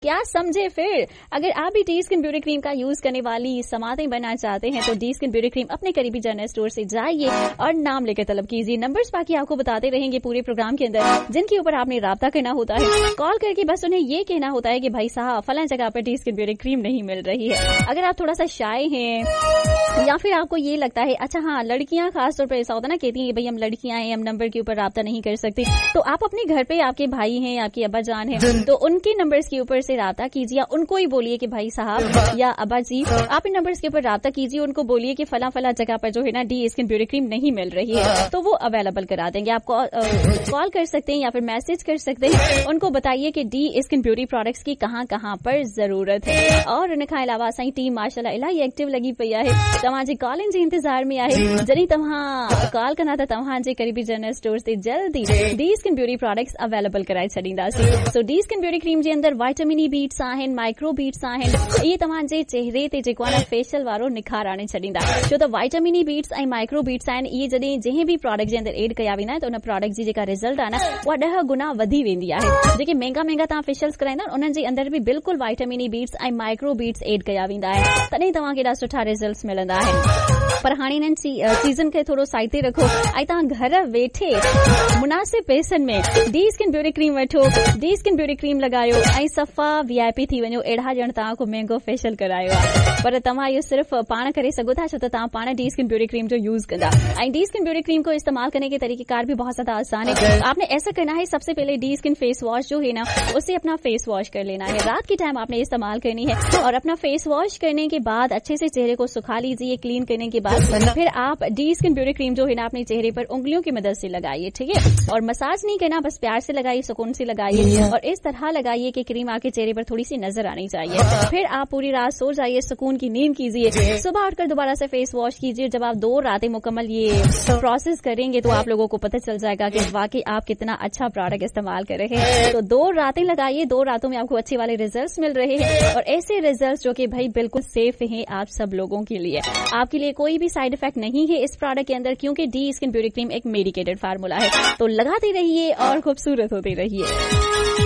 क्या समझे फिर। अगर आप भी डी स्किन ब्यूटी क्रीम का यूज करने वाली समातें बनना चाहते हैं तो डी स्किन ब्यूटी क्रीम अपने करीबी जनरल स्टोर से जाइए और नाम लेकर तलब कीजिए। नंबर्स बाकी आपको बताते रहेंगे पूरे प्रोग्राम के अंदर, जिनके ऊपर आपने राब्ता करना होता है। कॉल करके बस उन्हें ये कहना होता है कि भाई साहब फला जगह पर डी स्किन ब्यूटी क्रीम नहीं मिल रही है। अगर आप थोड़ा सा शाय हैं या फिर आपको ये लगता है, अच्छा हाँ लड़कियां खासतौर पर ऐसा होता है ना, कहती हैं भाई हम लड़कियां हैं, हम नंबर के ऊपर राब्ता नहीं कर सकते, तो आप अपने घर पे आपके भाई हैं, आपके अब्बा जान हैं, तो उनके नंबर्स के ऊपर से राब्ता कीजिए। उनको ही बोलिए कि भाई साहब या अब्बा जी आप इन नंबर्स के ऊपर राब्ता कीजिए, उनको बोलिए कि फला फला जगह पर जो है ना डी स्किन ब्यूटी क्रीम नहीं मिल रही है, तो वो अवेलेबल करा देंगे। आप कॉल कर सकते हैं या फिर मैसेज कर सकते हैं, उनको बताइए कि डी स्किन ब्यूटी प्रोडक्ट्स की कहाँ कहाँ पर जरूरत है। और उन खां अलावा असांजी टीम माशाअल्लाह इलाही एक्टिव लॻी पई आहे, तव्हांजे कॉलिंग जे इंतज़ार में आहे। जॾहिं तव्हां कॉल कंदा त तव्हांजे करीबी जनरल स्टोर ते जल्दी D skin beauty products available कराए छॾींदासीं। सो डी स्किन ब्यूटी क्रीम जे अंदरि वाइटामिन ई बीट्स आहिनि, माइक्रो बीट्स आहिनि, इहे तव्हांजे चेहरे ते जेको आहे न फेशियल वारो निखार आणे छॾींदा। छो त वाइटामिन ई बीट्स ऐं माइक्रो बीट्स आहिनि, इहे जॾहिं जंहिं बि प्रोडक्ट जे अंदरि एड कया वेंदा आहिनि त उन प्रोडक्ट जी जेका रिज़ल्ट आहे न उहा 10 गुना वधी वेंदी आहे। जेके महंगा महंगा तव्हां फेशियल्स कराईंदा आहिनि उन्हनि जे अंदरि बि बिल्कुलु वाइटामिन ई बीट्स ऐं माइक्रो बीट्स एड कया वेंदा आहिनि, तॾहिं तव्हांखे एॾा सुठा रिज़ल्ट्स मिलंदा आहिनि। पर हाणे इन्हनि चीज़नि खे थोरो साइड ते रखो ऐं तव्हां घर वेठे मुनासिब पैसनि में डी स्किन ब्यूटी क्रीम वठो, डी स्किन ब्यूटी क्रीम लॻायो ऐं सफ़ा वीआईपी थी वञो। अहिड़ा ॼण तव्हां को महंगो फेशियल करायो आहे, पर तव्हां इहो सिर्फ़ पाण करे सघो था, छो त तव्हां पाण डी स्किन ब्यूटी क्रीम जो यूज़ कंदा। ऐं डी स्किन ब्यूटी क्रीम को इस्तेमाल करने के तरीक़ेकार भी बहुत ज़्यादा आसान है। आपने ऐसा करना है, सबसे पहले डी स्किन फेस वॉश जो है ना उसे अपना फेस वॉश कर लेना है। रात के टाइम आपने इस्तेमाल करनी है और अपना फेस वॉश करने के बाद अच्छे से चेहरे को सुखा लीजिए। क्लीन करने के बाद फिर आप डी स्किन ब्यूटी क्रीम जो है ना अपने चेहरे पर उंगलियों की मदद से लगाइए, ठीक है। और मसाज नहीं करना, बस प्यार से लगाइए, सुकून से लगाइए और इस तरह लगाइए कि क्रीम आपके चेहरे पर थोड़ी सी नजर आनी चाहिए। फिर आप पूरी रात सो जाइए, सुकून की नींद कीजिए, सुबह उठकर दोबारा से फेस वॉश कीजिए। जब आप 2 रातें मुकम्मल ये प्रोसेस करेंगे तो आप लोगों को पता चल जाएगा कि वाकई आप कितना अच्छा प्रोडक्ट इस्तेमाल कर रहे हैं। तो 2 रातें लगाइए, 2 रातों में आपको अच्छे वाले रिजल्ट्स मिल रहे हैं और ऐसे रिजल्ट्स जो कि भाई बिल्कुल सेफ हैं आप सब लोगों के लिए। आपके लिए कोई भी साइड इफेक्ट नहीं है इस प्रोडक्ट के अंदर, क्योंकि डी स्किन ब्यूटी क्रीम एक मेडिकेटेड फार्मूला है। तो लगाते रहिए और खूबसूरत होते रहिए।